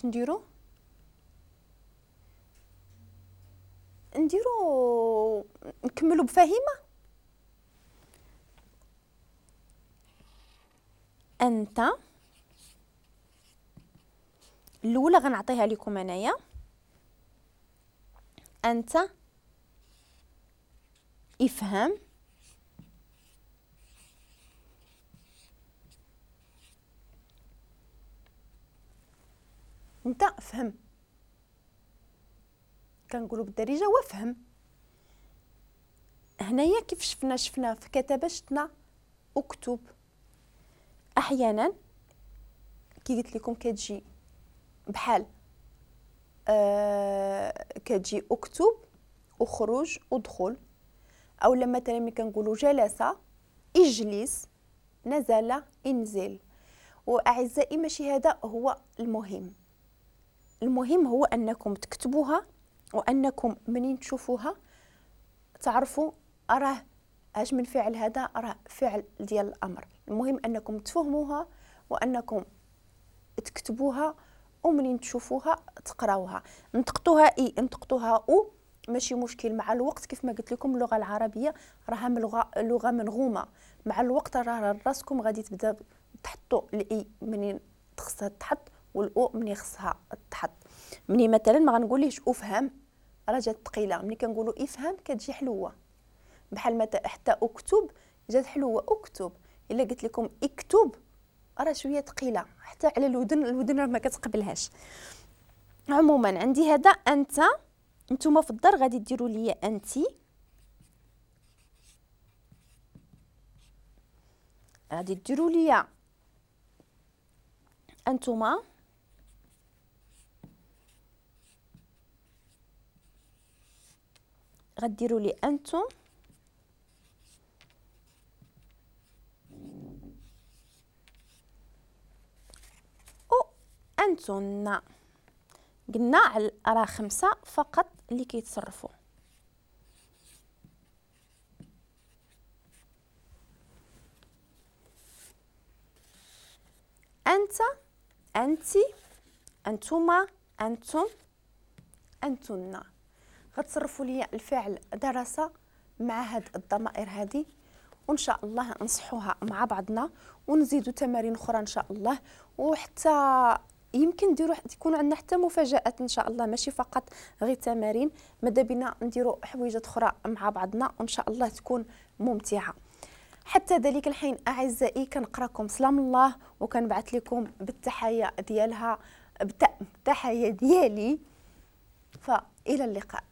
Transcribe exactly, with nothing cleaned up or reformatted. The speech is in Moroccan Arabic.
نديرو؟ نديرو نكملو بفهمه. انت الاولى غنعطيها لكم انايا، انت افهم انت فهم، كنقولوا بالدارجة وافهم. هنايا كيف شفنا شفنا في كتابه شفنا اكتب. احيانا كي قلت لكم كتجي بحال آه كتجي اكتب اخرج ادخل، او لما مثلا ملي كنقولوا جلس اجلس نزل انزل. واعزائي ماشي هذا هو المهم، المهم هو انكم تكتبوها وانكم منين تشوفوها تعرفوا راه اش من فعل هذا، راه فعل ديال الامر. المهم انكم تفهموها وانكم تكتبوها ومنين تشوفوها تقراوها. نطقتوها اي نطقتوها او ماشي مشكل. مع الوقت كيف ما قلت لكم اللغة العربية راها لغة لغة منغومه، مع الوقت راه راسكم غادي تبدا تحطوا الاي منين خصها تحط والاو منين خصها تحط. مني مثلا ما غنقوليش افهم راه جات ثقيلة، ملي كنقولوا افهم كتجي حلوة، بحال مثلا حتى اكتب جات حلوة اكتب. الا قلت لكم اكتب راه شوية ثقيلة حتى على الودن، الودن راه ما كتقبلهاش. عموما عندي هذا انت، نتوما في الدار غادي ديروا لي انتي، غادي ديروا لي انتما، غديروا لي انتم، و انتن. قلنا راه خمسة فقط اللي كيتصرفوا. انت، انتي، انتما، انتم، انتن. غتصرفوا لي الفعل درس مع هاد الضمائر هذه، وان شاء الله نصحوها مع بعضنا ونزيدوا تمارين اخرى ان شاء الله، وحتى يمكن نديروا تكون عندنا حتى مفاجآت ان شاء الله، ماشي فقط غير تمارين، ماذا بينا نديروا حويجات اخرى مع بعضنا وان شاء الله تكون ممتعة. حتى ذلك الحين اعزائي كنقراكم سلام الله، وكنبعث لكم بالتحية ديالها بالتحية ديالي، فالى اللقاء.